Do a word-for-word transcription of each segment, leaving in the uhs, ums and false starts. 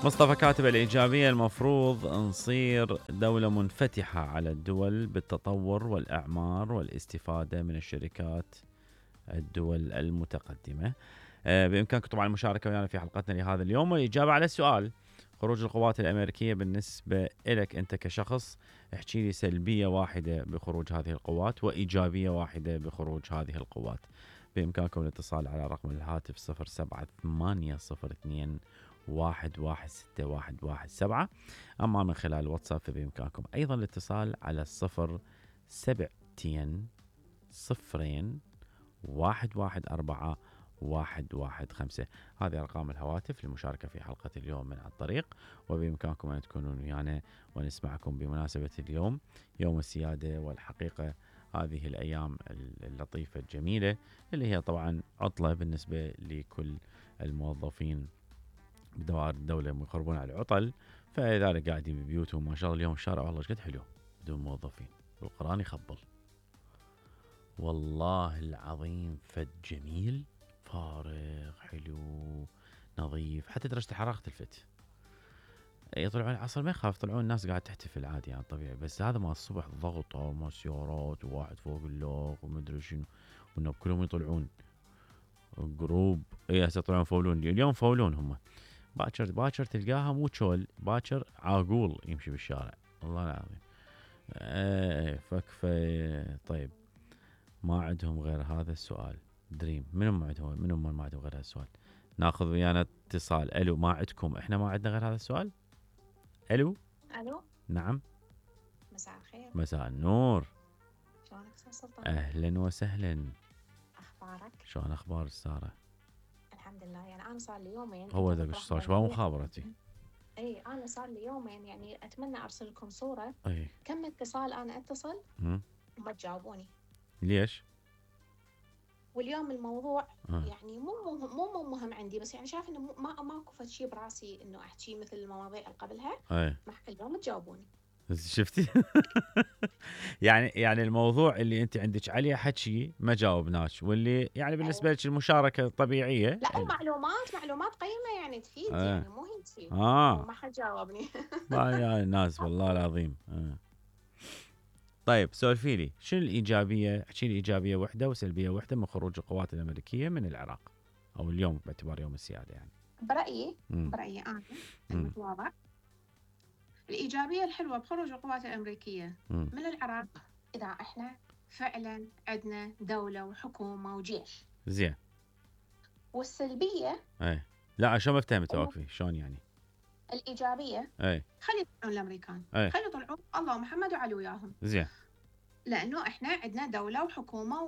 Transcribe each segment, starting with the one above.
مصطفى كاتب الإيجابية المفروض نصير دولة منفتحة على الدول بالتطور والإعمار والاستفادة من الشركات الدول المتقدمة. بإمكانكم طبعا المشاركة ويانا في حلقتنا لهذا اليوم والإجابة على السؤال: خروج القوات الأمريكية بالنسبة إلك أنت كشخص، احكي لي سلبية واحدة بخروج هذه القوات وإيجابية واحدة بخروج هذه القوات. بإمكانكم الاتصال على رقم الهاتف صفر سبعة ثمانية صفر اثنين واحد واحد ستة واحد واحد سبعة. أما من خلال الواتساب فبإمكانكم أيضا الاتصال على صفر سبعتين صفرين واحد واحد أربعة واحد واحد خمسة. هذه أرقام الهواتف للمشاركة في حلقة اليوم من على الطريق، وبإمكانكم أن تكونوا ويانا ونسمعكم بمناسبة اليوم يوم السيادة. والحقيقة هذه الأيام اللطيفة الجميلة اللي هي طبعا عطلة بالنسبة لكل الموظفين بدوائر الدولة يخربون على العطل، فلذلك قاعدين ببيوتهم. ما شاء الله اليوم الشارع والله قد حلو بدون موظفين، والقرآن يخبل والله العظيم، فد جميل فارغ حلو نظيف، حتى درجة الحرارة تلفت. يطلعون العصر ما يخاف، طلعون الناس قاعد تحتفل عادي يعني طبيعي، بس هذا ما الصبح ضغط وما سيارات وواحد فوق اللوق ومدري شنو، وانه كلهم يطلعون جروب. اي هسه يطلعون فولون، اليوم فولون هم. باكر باكر تلقاها مو تشول، باكر عاقول يمشي بالشارع والله العظيم. ايه فكفى. طيب ما عندهم غير هذا السؤال. دريم منو ما عندهم منو ما عندهم غير هذا السؤال؟ ناخذ ويانا اتصال. الو، ما عندكم؟ احنا ما عندنا غير هذا السؤال. الو الو نعم، مساء الخير. مساء النور. شلونك استاذ سلطان؟ اهلا وسهلا. اخبارك؟ شلون اخبار ساره؟ الحمد لله. يعني انا صار لي يومين. هو ذاك ايش صار؟ شو مخابرتي؟ اي انا صار لي يومين يعني اتمنى ارسل لكم صوره. اي كم اتصال انا اتصل وما تجاوبوني. ليش؟ واليوم الموضوع أه. يعني مو مو مو مهم عندي، بس يعني شايف انه ما ماكو فد شيء براسي انه احكي مثل المواضيع اللي قبلها. اي اليوم تجاوبوني. شفتي؟ يعني يعني الموضوع اللي انت عندك عليه حكي ما جاوبناش، واللي يعني بالنسبه لك المشاركه طبيعيه. لا معلومات معلومات قيمه يعني تفيد. آه. يعني مو هي تفيد. اه ما حد جاوبني. يا الناس والله العظيم. آه. طيب سولفي لي شنو الايجابيه، احكي لي ايجابيه وحده وسلبيه وحده من خروج القوات الامريكيه من العراق، او اليوم باعتبار يوم السياده يعني. برايي مم. برايي انا المتواضع، الإيجابية الحلوة بخروج القوات الأمريكية مم. من العراق إذا إحنا فعلا عندنا دولة وحكومة وجيش. زين. والسلبية اي لا شو ما فهمت واقفي شلون يعني. الإيجابية اي خلي يطلعون الأمريكان، أي. خلي يطلعون الله ومحمد وعلي وياهم. زين. لأنه إحنا عندنا دولة وحكومة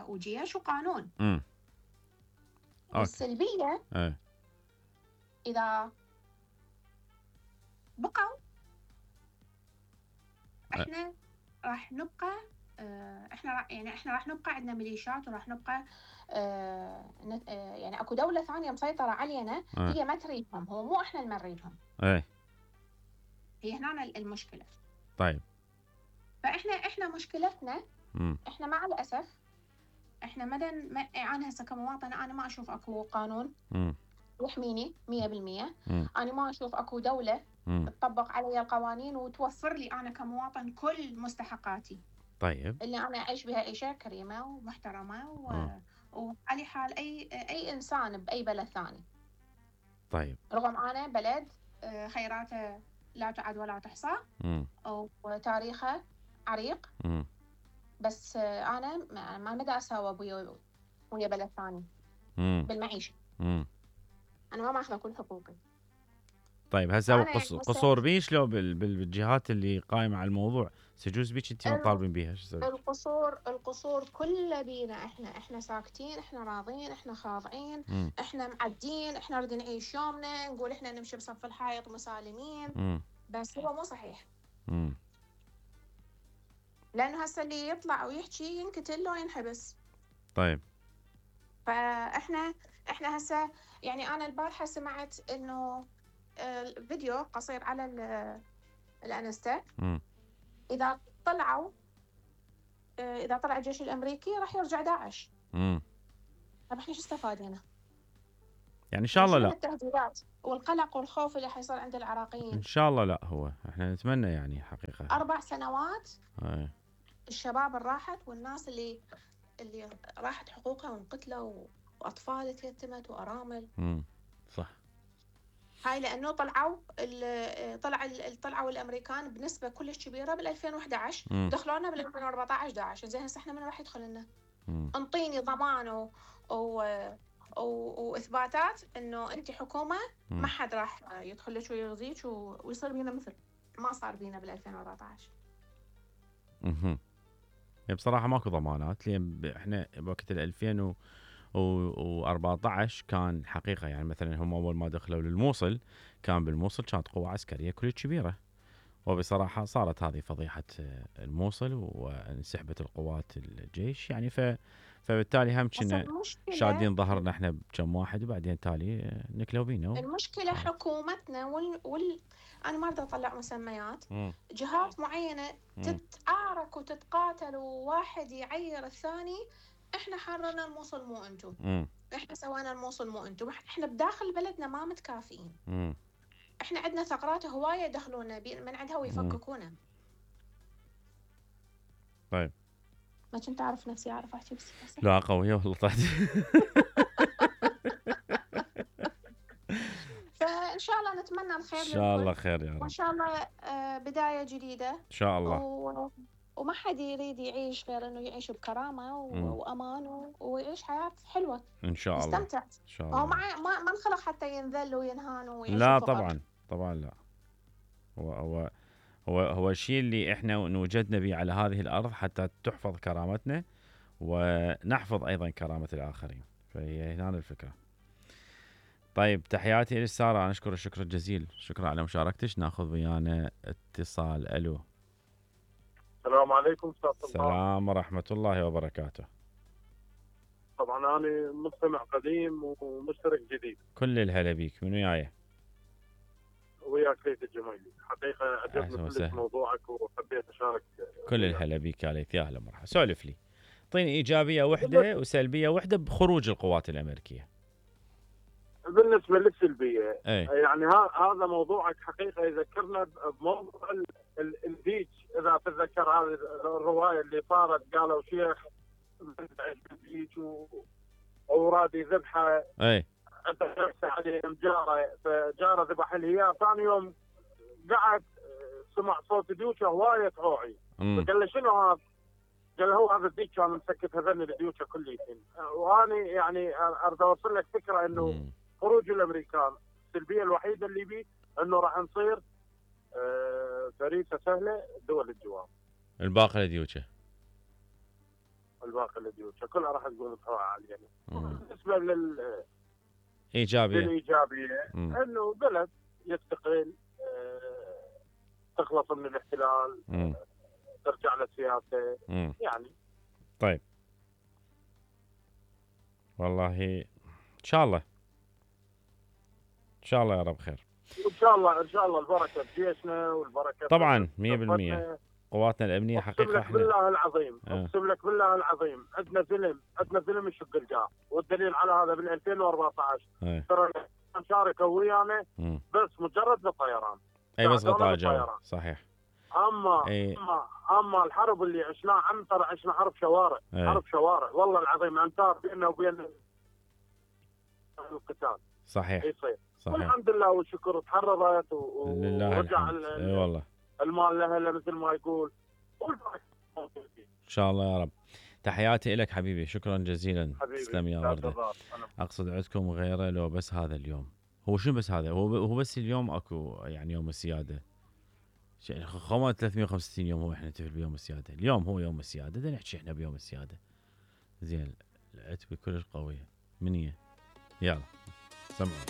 وجيش وقانون. امم والسلبية أي. إذا بقوا إحنا راح نبقى احنا يعني احنا راح نبقى عندنا ميليشيات وراح نبقى اه يعني اكو دولة ثانية مسيطرة علينا. اه. هي ما تريدهم، هو مو احنا اللي نريدهم. اي هي هنا المشكلة. طيب فاحنا احنا مشكلتنا مم. احنا مع الاسف احنا مدن ما انا هسه كمواطن انا ما اشوف اكو قانون مم. يحميني مية بالمية. انا ما اشوف اكو دولة مم. تطبق علي القوانين وتوفر لي انا كمواطن كل مستحقاتي. طيب اللي أنا أعيش بها عيشة كريمة ومحترمة و... وعلى حال أي أي إنسان بأي بلد ثاني. طيب رغم أنا بلد خيراته لا تعد ولا تحصى وتاريخه عريق. م. بس أنا ما مدى أساوي ويا ويا بلد ثاني م. بالمعيشة. م. أنا ما ماخذة كل حقوقي. طيب هسه قصور بيش لو بالجهات اللي قائمة على الموضوع سجوز بيش انت طالبين بيها شو القصور القصور كلها بينا احنا احنا ساكتين، احنا راضين، احنا خاضعين، م. احنا معدين، احنا نريد نعيش يومنا، نقول احنا نمشي بصف الحائط مسالمين. م. بس هو مو صحيح. م. لانه هسه اللي يطلع ويحكي ينقتل لو ينحبس. طيب فاحنا احنا هسه يعني انا البارحه سمعت انه الفيديو قصير على الانستا. م. اذا طلعوا اذا طلع الجيش الامريكي راح يرجع داعش. امم طب احنا شو استفادنا؟ يعني ان شاء الله لا. التهديدات والقلق والخوف اللي حيصير عند العراقيين. ان شاء الله لا، هو احنا نتمنى يعني حقيقه اربع سنوات أي. الشباب اللي راحت والناس اللي اللي راحت حقوقها وانقتلوا واطفال تيتمت وارامل. امم صح. هاي لانه طلعوا طلع طلعوا الامريكان بنسبه كلش كبيره بال ألفين وإحدى عشر، دخلونا بال ألفين وأربعة عشر داعش. زين هسه احنا من راح يدخل لنا؟ انطيني ضمان و... و... و... واثباتات انه انت حكومه ما حد راح يدخل لك ويغزيك و... ويصير بينا مثل ما صار بينا بال ألفين وأربعة عشر. اها بصراحه ماكو ضمانات، لان احنا بوقت ال ألفين وأربعة عشر كان حقيقه يعني مثلا هم اول ما دخلوا للموصل كان بالموصل كانت قوه عسكريه كلش كبيره، وبصراحه صارت هذه فضيحه الموصل وانسحبت القوات الجيش يعني ف فبالتالي هم كنا شادين ظهرنا احنا بكم واحد وبعدين تالي نكلوا بينا. المشكله و... حكومتنا وال, وال... انا ما اريد اطلع مسميات. م. جهات معينه م. تتعارك وتتقاتل وواحد يعير الثاني. احنا حررنا الموصل مو انتم، احنا سوينا الموصل مو انتم، احنا بداخل بلدنا ما متكافئين. م. احنا عندنا ثغرات هوايه يدخلونا من عندها ويفككونا. طيب ما كنت اعرف نفسي اعرف احكي بس لا قويه والله طلعت. فان شاء الله نتمنى الخير ان شاء الله خير يا رب، وان شاء الله بدايه جديده ان شاء الله. و... وما حد يريد يعيش غير انه يعيش بكرامه و... وامان و... ويعيش حياه حلوه ان شاء الله. يستمتع ان شاء الله. هو ما ما, ما انخلق حتى ينذل وينهان ويعيش لا فقط. طبعا طبعا لا. هو هو هو هو الشيء اللي احنا نوجدنا به على هذه الارض حتى تحفظ كرامتنا ونحفظ ايضا كرامه الاخرين، فهي هنا الفكره. طيب تحياتي لك ساره، انا اشكر الشكر الجزيل، شكرا على مشاركتك. ناخذ ويانا اتصال. الو. السلام عليكم استاذ صباح. السلام ورحمه الله وبركاته. طبعا انا مستمع قديم ومشترك جديد. كل الهلا بيك، من وياي؟ وياك ليث الجميلي، حقيقه عجبني كل موضوعك وحبيت اشارك. كل الهلا بيك يا ليث، يا هلا مرحبا. سولف لي، اعطيني ايجابيه وحده وسلبيه وحده بخروج القوات الامريكيه. بالنسبه للسلبيه أي. يعني هذا موضوعك حقيقه يذكرنا بموضوع الديج، اذا تتذكر هذه الروايه اللي صارت، قالوا شيخ الديج واوراد يذبحه. اي انت شخص عليهم جاره، فجاره ذبح الهيام، ثاني يوم قعد سمع صوت ديوشه هوايه تعوعي، فقال له شنو هذا؟ قال هو هذا الديك كان مسكت هذن الديوشه كليتين. وانا يعني اريد اوصل لك فكره انه مم. خروج الامريكان السلبيه الوحيده اللي بيه انه راح نصير آه فريسه سهله دول الجوار. الباقي الديوشه الباقي الديوشه كلها راح تقول بسرعه عاليه. بالنسبه لل ايجابيه الايجابيه انه بلد يستقل، آه تخلص من الاحتلال، مم. ترجع للسياسه مم. يعني. طيب والله ان شاء الله ان شاء الله يا رب خير. ان شاء الله ان شاء الله البركه بجيشنا والبركه طبعا مية بالمية قواتنا الامنيه حقيقه. اقسم لك بالله العظيم اقسم لك بالله العظيم عندنا فيلم عندنا فيلم يشق الجار، والدليل على هذا بال ألفين وأربعة عشر ترى شاركوا ويانا بس مجرد بالطيران. اي بس غطاء جو صحيح. اما أي. اما اما الحرب اللي عشناها عم ترى عشنا حرب شوارع. أي. حرب شوارع والله العظيم امتار بيننا وبين القتال. صحيح يصير صحيح. والحمد لله والشكر تحررت ورجع اي والله المال لها مثل ما يقول. ان شاء الله يا رب. تحياتي لك حبيبي، شكرا جزيلا. تسلم يا ورده. اقصد عندكم غيره لو بس هذا اليوم؟ هو شنو بس هذا؟ هو هو بس اليوم اكو يعني يوم السياده. خمسة ثلاثمية وخمسة وستين يوم هو احنا نحتفل بيوم السياده، اليوم هو يوم السياده، بدنا نحكي احنا بيوم السياده. زين العتبه كلش قويه. من هي؟ يلا سمعوا.